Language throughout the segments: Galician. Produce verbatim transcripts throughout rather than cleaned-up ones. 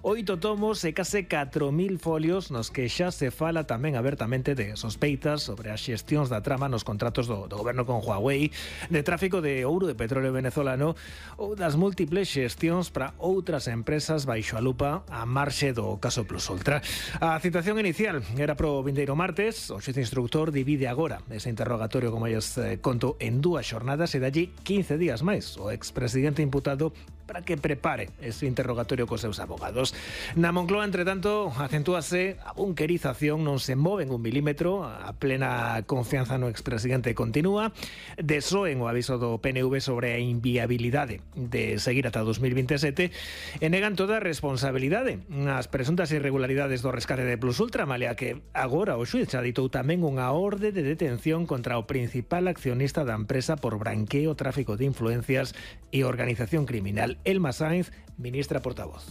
Oito tomos e case catro mil folios nos que xa se fala tamén abertamente de sospeitas sobre as xestións da trama nos contratos do, do goberno con Huawei, de tráfico de ouro de petróleo venezolano ou das múltiples xestións para outras empresas baixo a lupa a marxe do caso Plus Ultra. A citación inicial era pro vindeiro martes. O xuíz instructor divide agora ese interrogatorio, como lles eh, conto, en dúas xornadas e dalle quince días máis o expresidente imputado para que prepare ese interrogatorio cos seus abogados. Na Moncloa, entre tanto, acentúase a bunkerización, non se moven un milímetro, a plena confianza no expresidente continúa, desoen o aviso do P N V sobre a inviabilidade de seguir ata dos mil veintisiete e negan toda a responsabilidade nas presuntas irregularidades do rescate de Plus Ultra, malia que agora o xuíz xa ditou tamén unha orde de detención contra o principal accionista da empresa por branqueo, tráfico de influencias e organización criminal. Elma Sainz, ministra portavoz.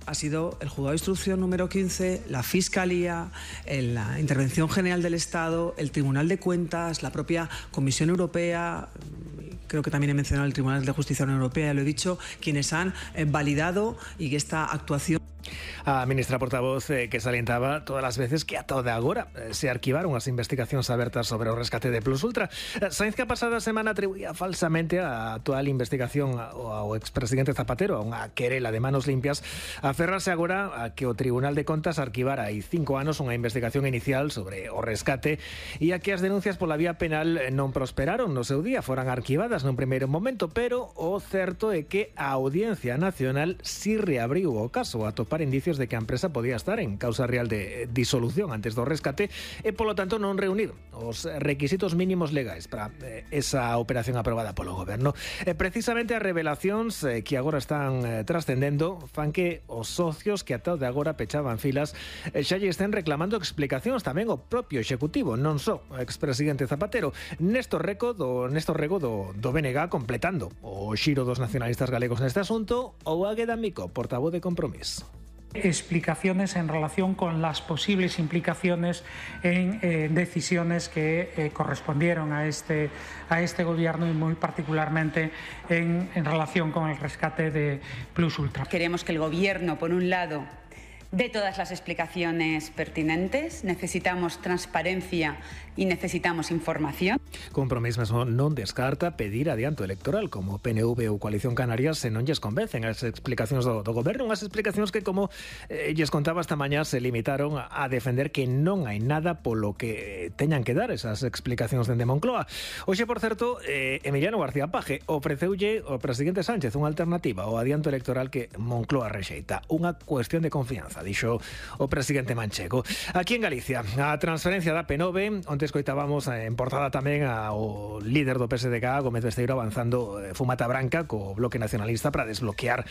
Ha sido el juzgado de instrucción número quince, la Fiscalía, la Intervención General del Estado, el Tribunal de Cuentas, la propia Comisión Europea, creo que también he mencionado el Tribunal de Justicia de la Unión Europea, ya lo he dicho, quienes han eh, validado y que esta actuación... A ministra portavoz eh, que salientaba todas as veces que ata o de agora eh, se arquivaron as investigacións abertas sobre o rescate de Plus Ultra. Sainz, que a pasada semana atribuía falsamente a actual investigación ao, ao expresidente Zapatero, a unha querela de manos limpias, aferrarse agora a que o Tribunal de Contas arquivara hai cinco anos unha investigación inicial sobre o rescate e a que as denuncias pola vía penal non prosperaron no seu día, foran arquivadas nun primeiro momento, pero o certo é que a Audiencia Nacional si reabriu o caso a topar indicios de que a empresa podía estar en causa real de disolución antes do rescate e, polo tanto, non reunir os requisitos mínimos legais para eh, esa operación aprobada polo goberno. E, precisamente, as revelacións eh, que agora están eh, trascendendo fan que os socios que ata de agora pechaban filas eh, xa lle estén reclamando explicacións tamén o propio executivo, non só o expresidente Zapatero. Néstor Rego do, Néstor Rego do, do B N G completando o xiro dos nacionalistas galegos neste asunto, ou Águeda Mico, portavoz de Compromís. Explicaciones en relación con las posibles implicaciones en eh, decisiones que eh, correspondieron a este, a este gobierno y muy particularmente en, en relación con el rescate de Plus Ultra. Queremos que el gobierno, por un lado, dé todas las explicaciones pertinentes, necesitamos transparencia y necesitamos información. Compromís mesmo non descarta pedir adianto electoral como P N V ou Coalición Canarias se non lles convencen as explicacións do, do goberno, unhas explicacións que, como eh, lles contaba esta mañá, se limitaron a defender que non hai nada polo que teñan que dar esas explicacións dende Moncloa. Hoxe, por certo, eh, Emiliano García Paje ofreceulle ao presidente Sánchez unha alternativa ao adianto electoral que Moncloa rexeita, unha cuestión de confianza, dixo o presidente manchego. Aquí en Galicia, a transferencia da P nove, onde escoitábamos en portada tamén ao líder do P S D G, Gómez Besteiro, avanzando eh, fumata branca co Bloque Nacionalista para desbloquear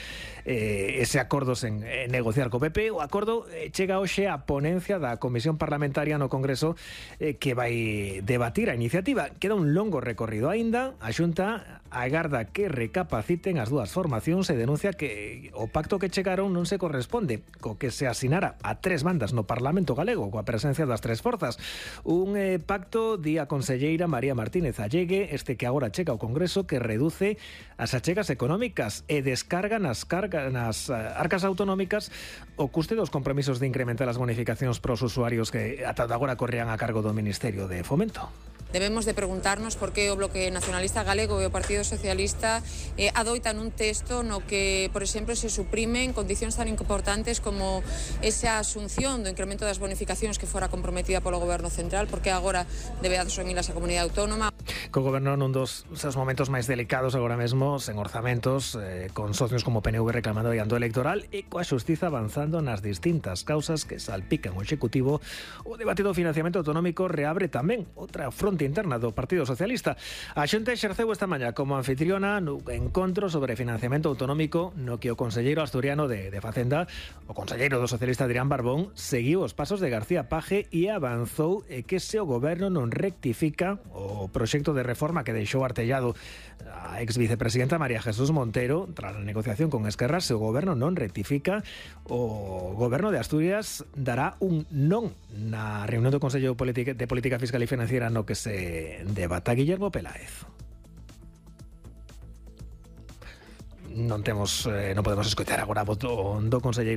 eh, ese acordo sen eh, negociar co P P. O acordo eh, chega hoxe a ponencia da Comisión Parlamentaria no Congreso eh, que vai debatir a iniciativa. Queda un longo recorrido aínda. A Xunta agarda que recapaciten as dúas formacións e denuncia que o pacto que chegaron non se corresponde co que se asinara a tres bandas no Parlamento galego coa presencia das tres forzas. Un eh, pacto, di a conselleira María Martínez Allegue, este que agora chega ao Congreso, que reduce as achegas económicas e descarga nas, carga, nas arcas autonómicas o custe dos compromisos de incrementar as bonificacións pros usuarios que ata agora corrían a cargo do Ministerio de Fomento. Debemos de preguntarnos por que o Bloque Nacionalista Galego e o Partido Socialista eh, adoitan un texto no que, por exemplo, se suprimen condicións tan importantes como esa asunción do incremento das bonificacións que fora comprometida polo Goberno Central, porque agora debe asumilas a Comunidade Autónoma. Co goberno nun dos seus momentos máis delicados agora mesmo, sen orzamentos, eh, con socios como P N V reclamando adianto electoral e coa xustiza avanzando nas distintas causas que salpican o Executivo, o debate do financiamento autonómico reabre tamén outra fronte interna do Partido Socialista. A Xunta exerceu esta mañá como anfitriona no encontro sobre financiamento autonómico no que o conselleiro asturiano de, de Facenda, o conselleiro do socialista Adrián Barbón, seguiu os pasos de García Paje e avanzou e que se o goberno non rectifica o proxecto de reforma que deixou artellado a ex vicepresidenta María Jesús Montero tras a negociación con Esquerra, se o goberno non rectifica, o goberno de Asturias dará un non na reunión do Consello de Política Fiscal e Financiera no que se debata. Guillermo Peláez. non temos, eh, non podemos escoitar agora a voz do, do conselleiro